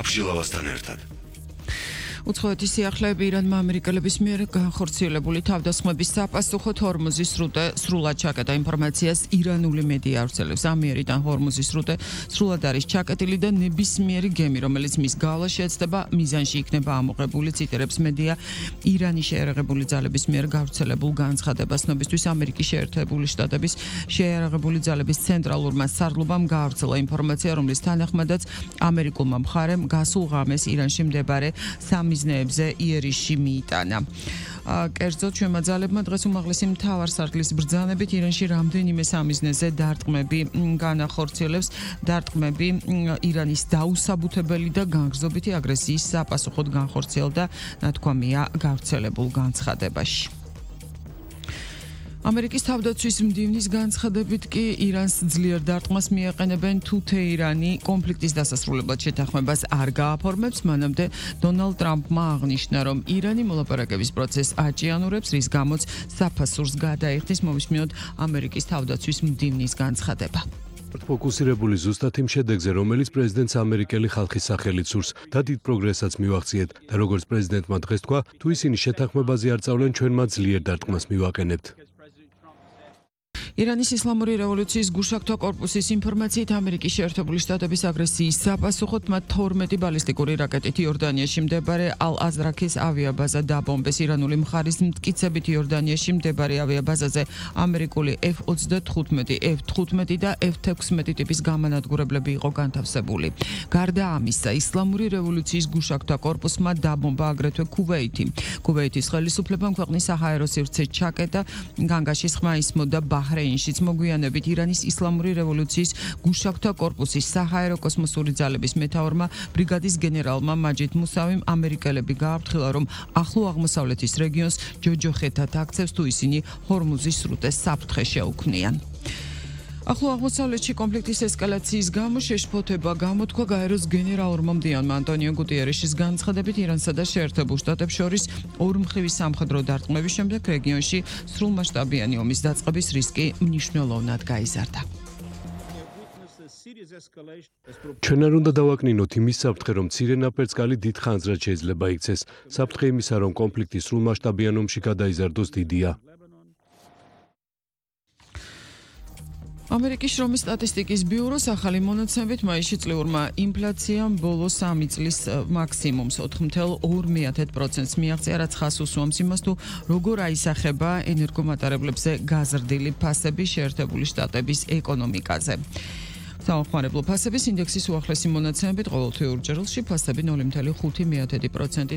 აბჟილავასთან ერთად. უცხოეთის სიახლეები ირანმა ამერიკელების მიერ განხორციელებული თავდასხმების საპასუხოდ ჰორმუზის სრუტე სრულად ჩაკეტა ინფორმაციას ირანული მედია ავრცელებს. ამიერიდან ჰორმუზის სრუტე სრულად არის ჩაკეტილი და ნებისმიერი გემი, რომელიც მის გავლას შეეცდება, მიზანში იქნება ამოღებული, ციტირებს მედია ირანის შეიარაღებული ძალების მიერ გავრცელებულ განცხადებას. ცნობისთვის ამერიკის შეერთებული შტატების შეიარაღებული ძალების ცენტრალურმა სარდლობამ გაავრცელა ინფორმაცია, რომლის თანახმადაც ამერიკულმა მხარემ გასულ ღამეს ირანში მდებარე მიზნეებზე იერიში მიიტანა. კერძოდ ჩვენმა ძალებმა დღეს უმაღლესი მთავარსარდლის ბრძანებით ირანში რამდენიმე სამიზნეზე დარტყმები განახორციელებს. დარტყმები ირანის დაუსაბუთებელი და განგრძობითი აგრესიის საპასუხოდ განხორციელდა, ნათქვამია გავრცელებულ განცხადებაში. ამერიკის თავდაცვის მდივნის განცხადებით კი ირანს ძლიერ დარტყმას მიაყენებენ თუ თეირანი კონფლიქტის დასასრულებლად შეთანხმებას არ გააფორმებს, მანამდე დონალდ ტრამპმა აღნიშნა, რომ ირანი მოლაპარაკების პროცესს აჭიანურებს, რის გამოც საფასურს გადაიხდის. მოვისმინოთ ამერიკის თავდაცვის მდივნის განცხადება. ფოკუსირებული ზუსტად იმ შედეგზე, რომელიც პრეზიდენტს ამერიკელი ხალხის სახელით სურს და დიდ პროგრესაც მივახციეთ და როგორც პრეზიდენტმა დღეს თქვა, თუ ისინი შეთანხმებაზე არ წავლენ, ჩვენ მათ ძლიერ დარტყმას მივაყენებთ. ირანის ისლამური რევოლუციის გუშაგთა კორპუსის ინფორმაციით ამერიკის შეერთებული შტატების აგრესიის საპასუხოდ მათ 12 ბალისტიკური რაკეტით იორდანიაში მდებარე ალ-აზრაქის ავიაბაზა დაბომბეს. ირანული მხარის მტკიცებით იორდანიაში მდებარე ავიაბაზაზე ამერიკული F-35, F-15 და F-16 ტიპის გამანადგურებლები იყო განთავსებული. გარდა ამისა, ისლამური რევოლუციის გუშაგთა კორპუსმა დაბომბა აგრეთვე ქუვეითი. ქუვეითის ხელისუფლებამ ქვეყნის საჰაერო სივრცე ჩაკეტა, განგაშის ხმა ისმოდა ბაჰრეინშიც. მოგვიანებით ირანის ისლამური რევოლუციის გუშაგთა კორპუსის საჰაერო კოსმოსური ძალების მეთაურმა ბრიგადის გენერალმა მაჯიდ მუსავიმ ამერიკელები გააფრთხილა, რომ ახლო აღმოსავლეთის რეგიონს ჯოჯოხეთად აქცევს, თუ ისინი ჰორმუზის სრუტეს საფრთხე შეუქმნიან. ახლო აღმოსავლეთში კონფლიქტის ესკალაციის გამო შეშფოთება გამოთქვა გაეროს გენერალურმა მდივანმა ანტონიო გუტიერეშის განცხადებით, ირანსა და შეერთებულ შტატებს შორის ორმხრივი სამხედრო დარტყმების შემდეგ რეგიონში სრულმასშტაბიანი ომის დაწყების რისკი მნიშვნელოვნად გაიზარდა. ჩვენ არ უნდა დავაკნინოთ იმის საფრთხე, რომ მცირე ნაპერწკალი დიდ ხანძრად შეიძლება იქცეს. საფრთხე იმისა, რომ კონფლიქტი სრულმასშტაბიან ომში გადაიზარდოს დიდია. ამერიკის შრომის სტატისტიკის ბიუროს ახალი მონაცემებით მაისში წლიურმა ინფლაციამ ბოლო 3 წლის მაქსიმუმს 4.2%-ს მიაღწია, რაც ხაზს უსვამს იმას, თუ როგორ აისახება ენერგომატარებლებზე გაზრდილი ფასები შეერთებული შტატების ეკონომიკაზე. საომხმარებლო ფასების ინდექსის უახლესი მონაცემებით ყოველთვიურ ჯერლში ფასები 0.5%-ით